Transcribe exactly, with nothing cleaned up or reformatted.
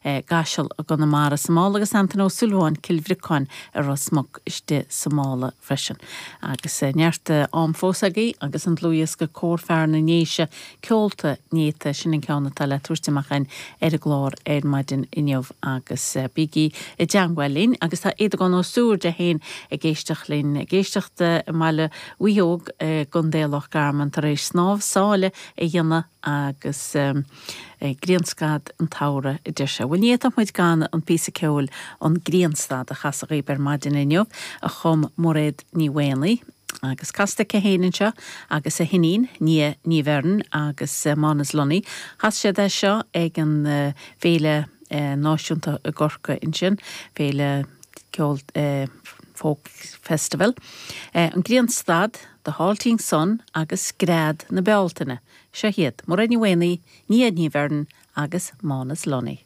i gCaiseal i gConamara sa mála agus Antain Ó Súilleabháin Cill Bhriocáin i Ros Muc istigh sa mála freisin. Agus neart am fós agaibh agus an dlúthdhiosca Cór Fear na nDéise ceolta néata sin an ceann atá le tabhairt amach againn ar an gclár ar maidin inniu agus bígí i dteagmháil linn agus tá Aodhagán Ó Súird é féin ag éisteacht linn ag éisteacht i mBaile Mhaoileog i gContae Loch Garman tar éis snámh sáile a dhéanamh agus um, grianstad an tsamhraidh a deir sé. Bhuel ní fhéadfadh muid gan an píosa ceoil an grianstad a chasadh dhaoibh ar maidin inniu a chum Mairéad Ní Mhaonaigh. agus casta chéan seo agus a hiníon Nia Ní Bheirn agus uh, Mánas Lunny. Chas siad é seo ag an uh, féile uh, náisiúnta i gCorcaigh ansin, féile ceol uh, folk festival. Uh, an grianstad, The Halting Sun agus Scread na Bealtaine. Seo hiad, Mairéad Ní Mhaonaigh, Nia Ní Bheirn agus Mánas Lunny.